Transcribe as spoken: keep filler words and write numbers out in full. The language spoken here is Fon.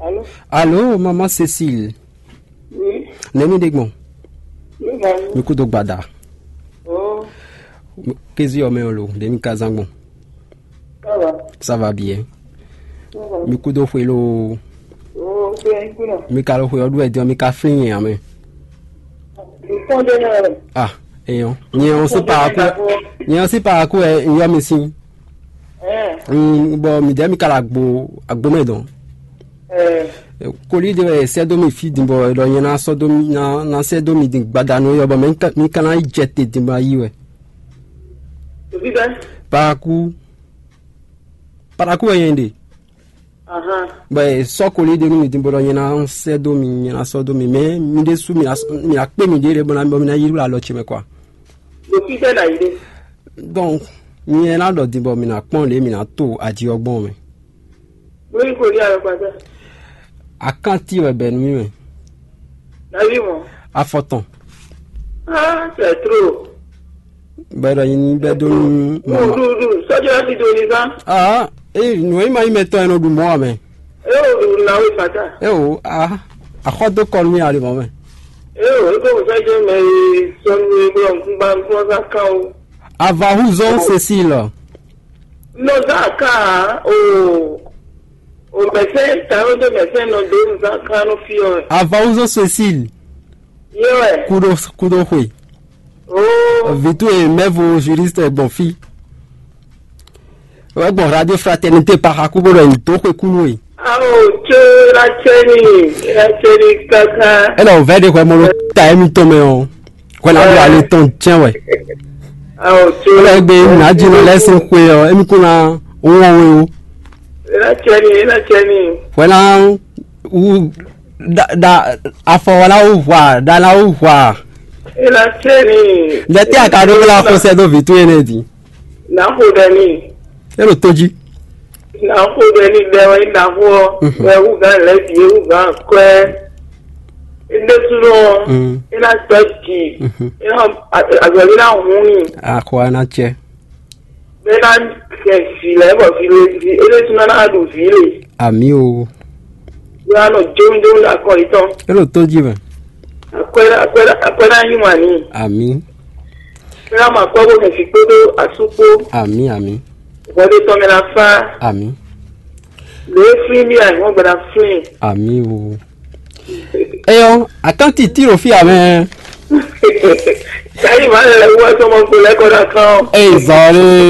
Allô? Allô, maman Cécile. Oui. Nɛ̌ mi ɖe gbɔn? Mi kú dó gbada. Oh. Kézi ɔ́ mɛ ɔ́ lo, ɖě mi ka zán gbɔn? Ça va. Ça va bien. Ça va. Mi kú dó xwe lo. Oh, c'est un coup là. Mi ka lo xwe ɔ́ ɖu wɛ din ɔ́, mi ka flín nyɛ ǎ mɛ. Ah, eyɔn. Nyɛ ɔ́ sí pa akú. Nyɛ ɔ́ sí pa akú ɛ yɔ mi sín. Bɔ mi dɛ mi ka la agbo agbo mɛ dɔn. Koli ɖe wɛ sɛ dó mi fí din bɔ ɖɔ nyɛ ná sɔ́ dó mi ná ná sɛ dó mi din gbadanu yɔ bɔ mɛ mi ka ná yi jɛ te din bɔ ayi wɛ. Paraku. Paraku wɛ nyɛ ɖe. Bɔ sɔ́ koli ɖe nú mi din bɔ ɖɔ nyɛ ná sɛ dó mi nyɛ ná sɔ́ dó mi mɛ mi ɖésú mi ná kpé mi ɖě lě bɔ ná bɔ mi ná yi ɖo alɔ ce mɛ kwa. Ɖo fí tɛ na yi ɖe. Donc, nyɛ ná ɖɔ din bɔ mi ná kpɔ́n lě mi ná to aji ɔ́ gbɔn mɛ. Bóyí kò ní alɔkpata. Akanti wɛ bɛ nú mi mɛ. Davi mɔ. Afɔtɔn. Ah, c'est trop. Bɛ ɖɔ nyi bɛ dó nú mama. Ɖuɖu sɔjɔ ti do ni zan. Ah, eh, nǔ e ma nyí mɛ tɔn e nɔ ɖu mɔ wɛ mɛ. E o ɖu na we fata. Eh o, ah, axɔ dó kɔ nú mi ali mɔ mɛ. E o, e ko sɛ jɛ mɛ e sɔnu e blɔ nkúgba nkúgba kan o. Avahuzɔn Cécile. Nɔ zan kan o. O mɛsɛn tawé dó mɛsɛn nɔ dó nzan kan nɔ fi ɔ. Avawuzo Cécile. Yé wɛ. Kudo kudo xwe. Oo. Vitu e mɛvo juriste gbɔn fi. Wɛ gbɔn radio fraternité paxa kubo ɖɔ yin dó xwe kunu e. Awo tso la tsɛ ni la tsɛ ni kaka. Ɛnɛ o vɛ de xɔ mɔ ɖo ta emi tɔn mɛ o. Hwɛ ná ɖo ale tɔn jɛ́n wɛ. Awo tso. Wala egbe nadzinu lɛ sin xwe ɔ emi kún ná wɔn we o. Ena tsɛ ni ena tsɛ ni. Hwɛ ná wu da da afɔ wala wu hwa da la wu hwa. Ena tsɛ ni. Lɛ tɛ a ka ɖo la xɔsɛ do vi to ene di. Na xo ɖe ni. E ɖo to jí. Na xo ɖe ni ɖe wɛ na xo ɔ. Wɛ wu gan lɛ di wu gan kɔɛ. Ndésúnɔ. E na tɔ dzi. E na azɔli na hun ni. Axɔ ana tsɛ. Bɛ na kɛ vi lɛ bɔ vi le vi e ɖésúnɔ na ɖu vi le. Ami o. Yɔ anɔ jomjom ɖo akɔ yitɔn. E ɖo to jí mɛ. Akwɛ akwɛ akwɛ na nyi wani. Ami. Bɛ na ma kpɔ bo mɛ vi kpódó asú kpó. Ami ami. Bɔdé tɔn mɛ na fa. Ami. Lě e flín mì ayǐhɔ́ngbe ná flín. Ami o. Eyɔ, atán tití ɖo fí amɛ. Sayi ma lɛ wɔ sɔmɔ kpo lɛ kɔ na kan. Ey zɔli.